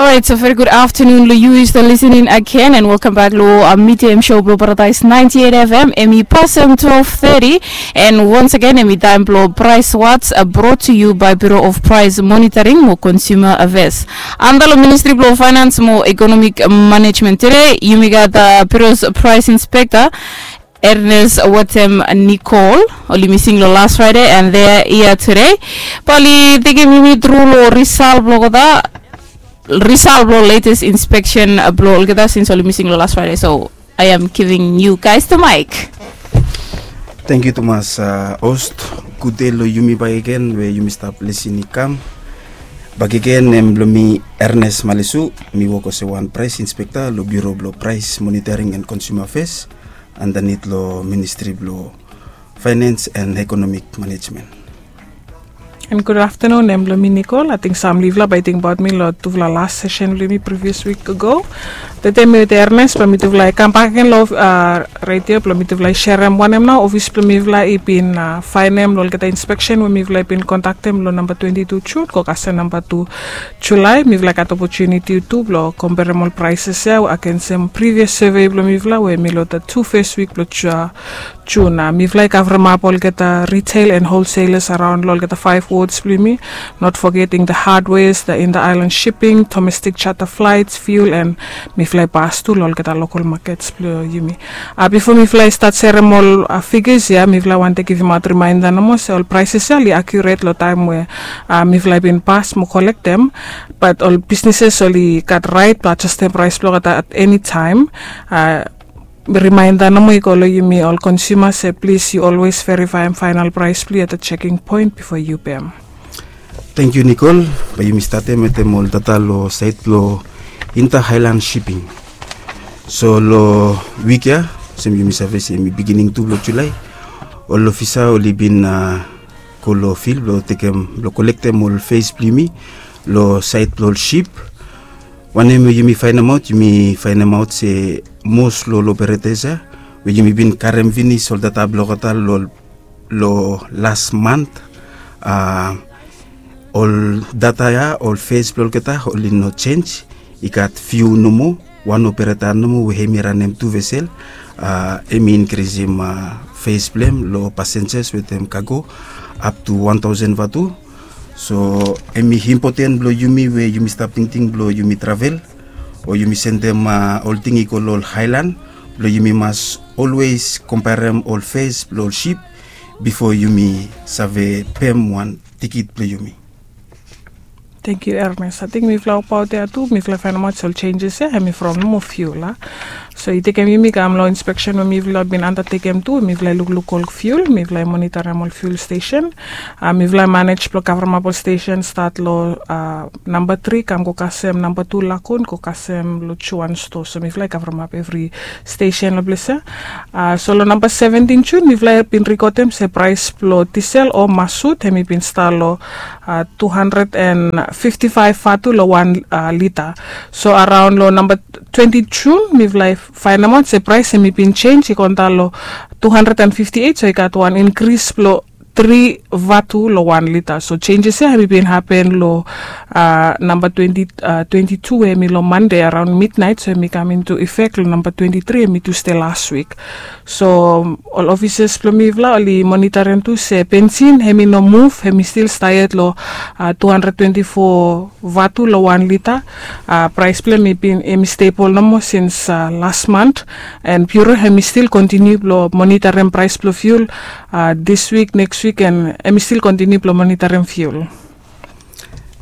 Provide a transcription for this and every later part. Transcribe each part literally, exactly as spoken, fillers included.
Alright, so very good afternoon lo yu. Yu stap listening again and welcome back lo uh, Media M Show blo Paradise ninety-eight F M. Em i pasem twelve thirty and once again em i taem blo Price Watch, uh, brought to you by Bureau of Price Monitoring mo Consumer Affairs. Anda lo Ministry blo Finance mo Economic Management. Today yumi gat uh, Bureau's Price Inspector Ernest wetem Nicole, oli mising lo last Friday and they are here today. Bae oli tekem yumi tru lo result blo olgeta, result blo latest inspection uh, blo olgeta since oli mising lo last Friday. So I am giving you guys the mic. Thank you tumas uh, host. Good day lo yumi bakegen we yumi stap listening kam. Bakegen, nem blo mi Ernest Malisu, mi wok olsem wan price inspector lo Bureau blo Price Monitoring and Consumer Affairs andanit lo Ministry blo Finance and Economic Management. And good afternoon, nem blo mi Nicole. Ating sam livla bae ting baot mi lo tufla last session blo mi previous week ago. Tete mi wetem Ernest blo mitufla i kam bak agen lo uh, radio blo mitufla i serem wanem nao ofis blo mifla i bin uh, faenem lo olgeta inspection we mifla i bin kondaktem lo namba twenty-two June go kasem namba two July. Mifla i gat opportunity tu blo komperem ol prices ya agensem previous survey blo mifla we mi lo the two first week blo June. Mifla i kavremap olgeta retail and wholesalers araon lo olgeta five wards blo yumi, not forgetting the hardwares, the inter-island shipping, domestic charter flights, fuel and mifla i pas tu lo olgeta local markets blo yumi. Uh, bifo mifla i stat serem ol uh, figures ya, mifla i wantem givimaot reminder nomo se ol prices ya oli accurate lo taem we uh, mifla i bin pas mo kolektem. But ol businesses oli gat right blo adjustem price blo olgeta at any time. Uh, reminder nomo i go lo yumi ol consumer se please yu always verifaem final price blo yu at the checking point bifo yu pem. Thank you Nicole. Bae yumi statem wetem ol data lo saed blo Inter Highland Shipping. So lo wik ya, olsem yumi save se em i beginning tu blo July, ol ofisa oli bin uh, go lo field blo tekem blo kolektem ol fees blo yumi lo saed blo ol ship. Wanem we yumi faenemaot, yumi faenemaot se mos lo ol operators ya we yumi bin karem finis ol data blo olgeta lo, lo last month, uh, ol data ya, ol fees blo olgeta oli no change. I gat fiu nomo, wan operator nomo we hem i ranem tu vesel, uh, hem i inkrisim uh, fees blo hem lo passengers wetem cargo up to one thousand vatu. So hem i impoten blo yumi we yumi stap tingting blo yumi travel o yumi sendem uh, ol ting i go lo ol highland, blo yumi mas always komperem ol fees blo ol ship bifo yumi save pem wan tikit blo yumi. Thank you Ernest. Ating mifla opaot ya tu mifla i faenemaot se ol changes ya hem i from nomo fuel a. So i tekem yumi kam lo inspection we mifla bin undertakem tu, mifla i lukluk ol fuel, mifla i monitorem ol fuel station. Uh, mifla i manage blo kavremap ol station stat lo uh, namba tri kam go kasem namba tu Lagoon go kasem lo Juan Store. So mifla i kavremap evri station lo ples ya. Uh, so lo namba seventeen June mifla i bin rekodem se price blo diesel o masut hem i bin stap lo uh, two hundred and fifty-five vatu lo wan uh, lita. So araon lo namba twenty June mifla i faenemaot se price hem i bin change i go antap lo two hundred and fifty-eight, so i gat wan inkris blo tri vatu lo wan lita. So changes ya hem i bin hapen lo uh, namba twenty, uh, twenty-two we hem i lo Monday araon midnight, so hem i kam into effect lo namba twenty-three hem i Tuesday last week. So ol ofisas blo mifla oli monitorem tu se bensin hem i no muv, hem i stil staet lo uh, two hundred twenty-four vatu lo wan lita. Uh, price blo hem i bin hem i stable nomo since uh, last month. And Bureau hem i stil kontiniu blo monitorem price blo fuel uh, this week, next week and hem i stil kontiniu blo monitorem fuel.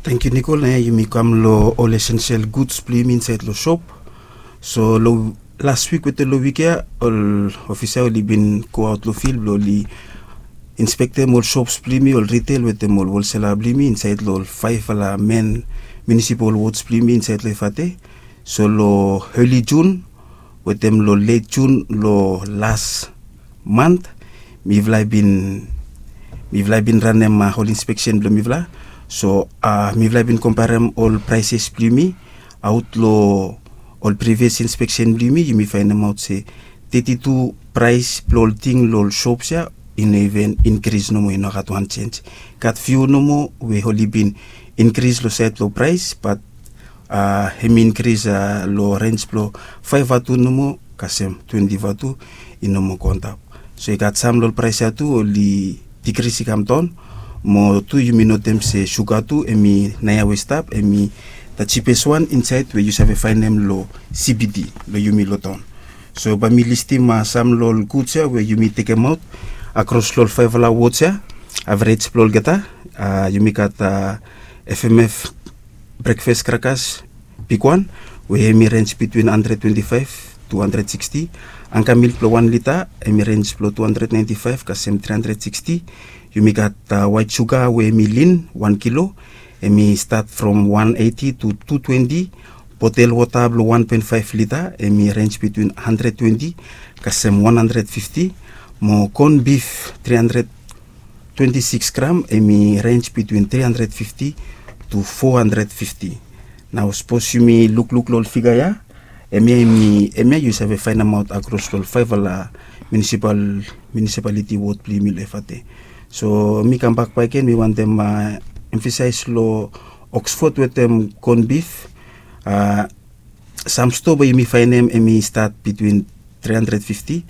Thank you Nicole. Naoia yumi kam lo ol essential goods blo yumi insaed lo shop. So lo last week wetem lo wik ya ol ofisa oli bin go aot lo field blo oli inspektem ol shops blo yumi, ol retail wetem ol wholesale blo yumi insaed lo ol faefala men municipal wards blo yumi insaed lo Efate. So lo early June wetem lo late June lo last month mifala i bin mifala i bin ranem ol inspection blo mifala. So mifala i bin komparem ol prices blo yumi aot lo ol previous inspection blo yumi, yumi faenemaot se thirty-two price blo ol ting lo ol shops ya i no even inkris nomo, i no gat wan change. Gat few nomo we oli bin inkris lo saed lo price, bat a hem i inkris a long rens blong faef vatu nomo kasem twenti vatu i no moa go antap. So i gat sam long ol praes ya tu ol i dikris i kam daon. Mo tu yumi notem se suga tu hem i naoia we i stap hem i da jipes wan insaed we yu save faenem long cbd long yumi long taon. So bae mi listim sam long ol guds ya we yumi tekemaot akros long ol faefala wods ya. Avrej blong olgeta, yumi gat fmf brekfas krakas bigwan we hem i rens bitwin handred twenti faef tu handred siksti. Angkamil blong wan lita hem i rens blong tu handred naenti faef kasem tri handred siksti. Yumi gat waet suga we hem i lin wan kilo, hem i stat from wan eiti tu tu twenti. Botel wota blong wan poen faef lita hem i rens bitwin handred twenti kasem wan handred fifti. Mo kon bif tri handred twenti sikis gram hem i rens bitwin tri handred fifti tu fo handred fifti. Nao sapos yumi lukluk long ol figa ya, hemia yu save faenemaot akros long ol faefala munisipaliti wod blong yumi long efate. So mi kambak bakegen mi wantem emfasaes long oksfod wetem kon bif. Sam stoa bae yumi faenem hem i stat bitwin tri handred fifti,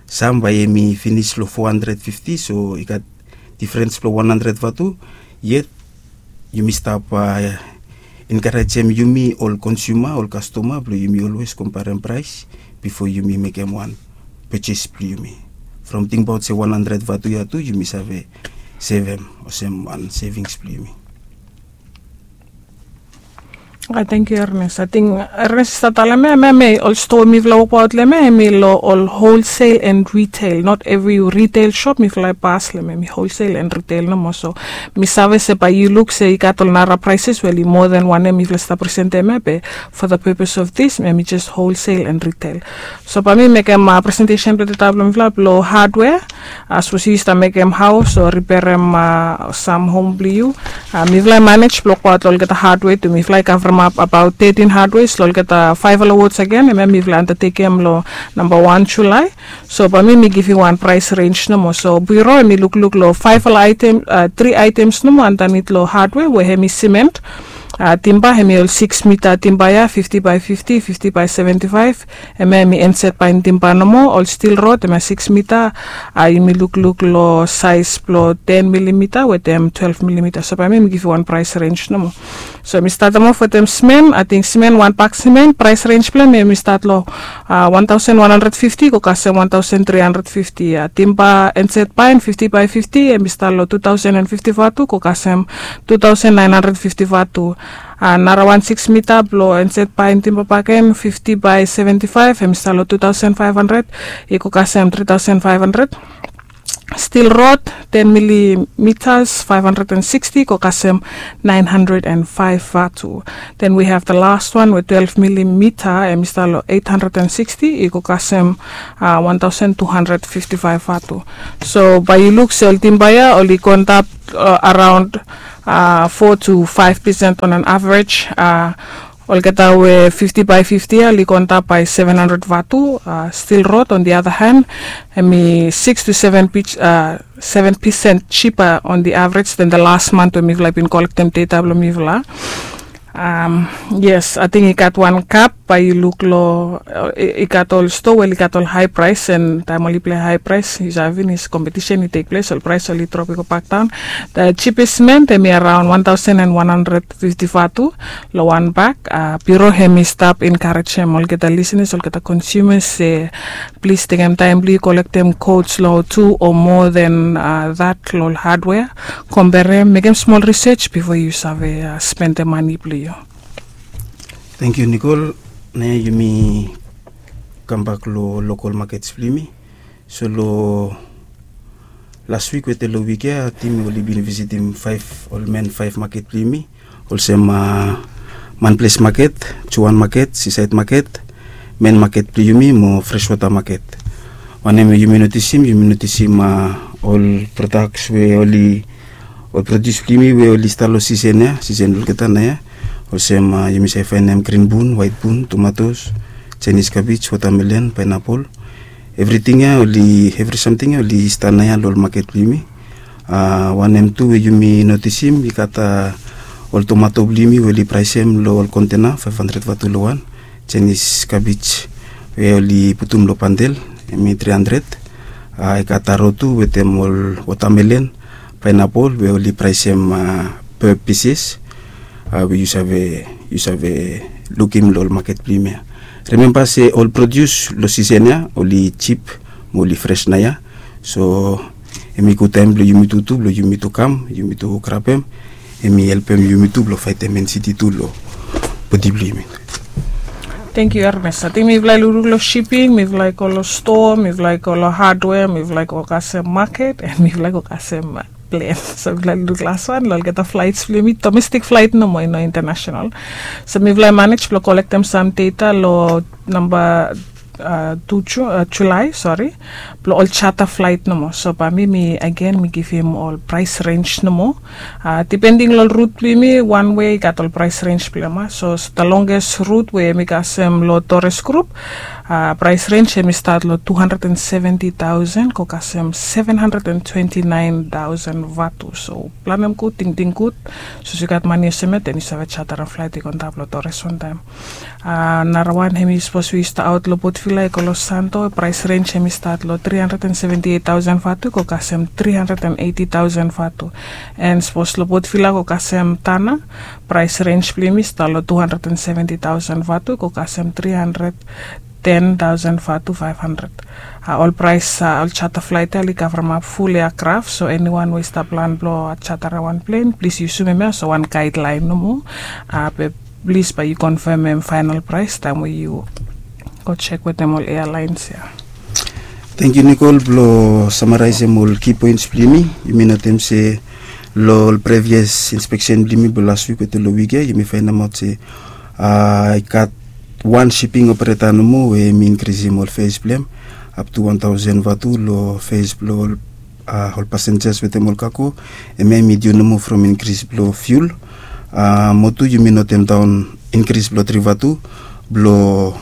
sam bae hem i finis long fo handred fifti. So i gat difrens blong wan handred vatu. Yet yumi stap enkarejem yumi ol konsuma ol kastoma blong yumi olwes komparem praes bifo yumi mekem wan pejes blong yumi. From tingbaot se wan handred vatu ya tu yumi save sevem olsem wan sevings blong yumi. Ai tengkiu ernes ating ernes i stap talem ya em ya ol stoa mifala wokbaot long em ya em i long ol holsel and retail not evri retail sop mifala i pas long em ya em i holsel and retail nomo so mi save se bae yu luk se i gat ol nara praeses we oli moa dan wanem mifala i stap presentem ya be for the purpose of this em ya em i jes holsel and retail. So bae mi mekem presentesen blong data blong mifala blong hadwea. Sapos yu stap mekem haos o riperem sam hom blong yu, mifala i manej blong wokbaot long olgeta hadwe tu mifala i kavremap abaot tetin hadwe long olgeta faefala wods agen em ya mifala i andatekem long namba wan julae. So bae mi mi givim wan praes rens nomo so biro em i lukluk long faefala aetem tri aetems nomo andanit long hadwe we em i simen, timba em i ol siks mita timba ya fifti bae fifti fifti bae seventi faef. Em ya em i enset bae timba nomo ol stil rod em ya siks mita. Yumi lukluk long saes blong ten milimita wetem twelef milimita so bae mi mi givim wan praes rens nomo. So em i statem of wetem simen ating simen wan bak simen praes rens blong em em i stat long wan taosen wan handred fifti go kasem wan taosen tri handred fifti ya timba enset bae fifti bae fifti em i stat long tu taosen and fifti vatu go kasem tu taosen naen handred fifti vatu. Nara wan siks mita blong enset bae timba baken fifti bae seventi faef em i stat long tu taosen faef handred i go kasem tri taosen faef handred. Stil rod ten milimitas faef handred and siksti i go kasem naen handred and faef vatu. Den wi have the last wan we twelef milimita em i stap long eit handred and siksti i go kasem wan taosen tu handred fifti faef vatu. So bae yu luk se ol timba ya oli go antap araon fo tu faef pesen on an avrej. Olgeta we fifti bae fifti ya oli go antap bae seven handred vatu. Stil rod on the other hand em i siks tu seven pesen jipa on the avrej den the last mant we mifala i bin kolektem deta blong mifala. Yes ating i gat wan kap bae yu luk long i gat ol stoa we oli gat ol hae praes and taem oli pilai hae praes yu save finis kompetisen i tek ples ol praes oli drop i go bakdaon. The jipes siment em i araon wan taosen and wan handred fifti vatu long wan bak. Biro hem i stap enkarejem olgeta lisenas olgeta konsumas se plis tekem taem blong yu kolektem kots long tu o moa den dat long ol hadwea. Komberem mekem smol risej bifo yu save spendem mani blong yu. Tengkiu nikol. Naoia yumi kambak long lokol makets blong yumi. So long las wik wetem long wik ya tim oli bin visitim faef ol men faef maket blong yumi olsem manples maket, juan maket, sisaed maket, men maket blong yumi mo freswota maket. Wanem we yumi notisim yumi notisim ol prodaks we oli ol produs blong yumi we oli stap long sisen ya sisen olgeta naoia. Olsem yumi save faenem grin bun waet bun tomatos, jaenis kabej, wotamelen, paenapol, evriting ya oli evri samting ya oli stap naoia long ol maket blong yumi. Wanem tu we yumi notisim i gat Ol tomato blong yumi we oli praesem long ol kontena, faef handred vatu long wan. Chinese cabbage we oli putum long bandel, hemi tri handred. A, i gat taro tu wetem ol watermelon, pineapple we oli praesem, a, per pieces. A, we yu save, yu save lukim long ol maket blong yumi ia. Rememba se ol produs long sisen ia oli jip mo oli fres naoia. So hemi gud taem blong yumi tu, tu blong yumi tu kam, yumi tu grabem. Hemi helpem yumi tu blong faetem ensiti tu long bodi blong yumi. Tangkiu Ermes. Ating mifala i lukluk long shiping, mifala i go long stoa, mifala i go long hadwea, mifala i go kasem maket, and mifala i go kasem plen. So mifala i lukluk las wan long olgeta flaets blong yumi, domestik flaet nomo, i no international. So mifala i manej blong kolektem sam data long namba, a, tu Ju- a, Julae, sori, blong ol jata flaet nomo. So bae mi, mi agen mi givim ol praes renj nomo. A, dipending long ol rut blong yumi, wan we i gat ol praes renj blong hem ia. So the longest rut we hemi kasem long Torres Group, a, praes renj hemi stat long tu handred and seventi taosen go kasem seven hundred and twenty nine taosen vatu. So planem gud, tingting gud. Sapos yu gat mane olsem ia, den yu save jatarem flaet i go antap long Torres wantaem. A, narawan hemi sapos we yu stap aot long Port Vila i go long Santo, praes renj hemi stat long tri handred and seventi eit taosen vatu go kasem tri handred and eiti taosen vatu. And sapos long Port Vila go kasem Tanna, praes renj blong yumi stat long tu handred and seventi taosen vatu go kasem tri handred ten taosen vatu faef handred. A, ol praes, a, ol jata flaet ia oli kavremap ful ia graf. So eniwan we i stap plan blong jatarem wan plen, plis yusum hemia olsem wan gaedlaen nomo. A, be plis bae yu konfemem faenol praes taem we yu go jek wetem ol ealaens ia. Tangkiu Nikol blong samaraesem ol ki poens blong yumi. Yumi notem se long ol previous inspeksen blong yumi blong las wik wetem long wik ia, yumi faenemaot se, a, i gat wan shiping opereta nomo we hemi inkrisim ol fees blong hem up to wan taosen vatu long fees blong ol, a, ol pasenjas wetem ol kago. Hemia hemi diu nomo from inkris blong fiul. A, mo tu yumi notemdaon inkris blong tri vatu blong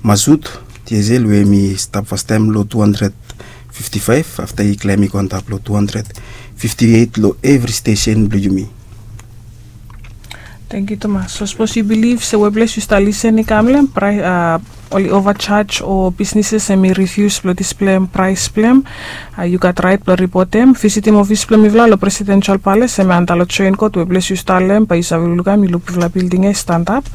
masut, diesel, we hemi stap fastaem long tu handred fifti faef, afta i klaem i go antap long tu handred fifti eit long evri stesen blong yumi. Tangkiu tumas. So sapos yu bilif se weples yu stap lisen i kam long hem, praes, a, oli ovajaj o bisnis hemi rifius blong displem praes blong hem, a, yu gat raet blong ripotem. Visitim ofis blong mifala long Presidential Palace, hemi antap long Joint Court, weples yu stap long hem, bae yu save lukluk ia, yu luk bigfala bilding ia i stanap.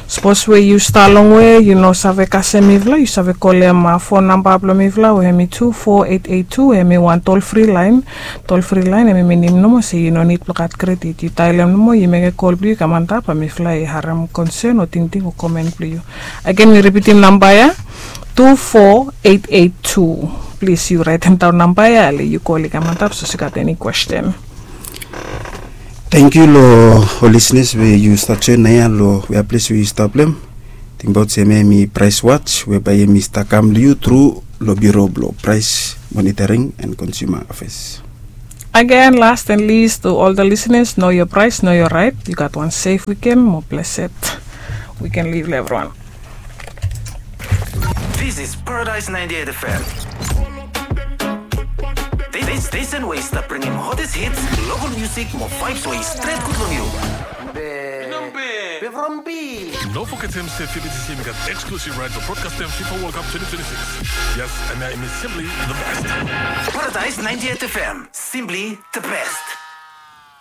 Sapos we yu stap longwe, yu no save kasem mifala, yu save kolem, a, fon namba blong mifala we hemi tu fo eit eit tu, hemi wan tol fri laen. Tol fri laen hemi minim nomo se yu no nid blong gat kredit. Yu daelem nomo, yu mekem kol blong yu i kam antap, bae mifala i harem konsen o tingting o komen blong yu. Agen mi ripitim namba ia, tu fo eit eit tu. Plis yu raetemdaon namba ia, ale yu kol i kam antap sapos yu gat eni kwesten. Tangkiu long ol lisnas we yu stap joen naoia long wea ples we yu stap long hem. Tingbaot se hemia hemi Price Watch we bae hemi stap kam long yu tru long Bureau blong Price Monitoring and Consumer Affairs. Again, last and least, to all the listeners, know your price, know your right. You got one safe weekend, more blessed weekend leave everyone. This is Paradise ninety-eight F M. This station we i stap bringim hottest hits, local music mo vibes we i stret gud long yu. Be from B. No fogetem se F B C C hemi gat exclusive right blong broadcastem FIFA World Cup twenty twenty-six. Yes, and hemi simply the best. Paradise ninety-eight F M, simply the best.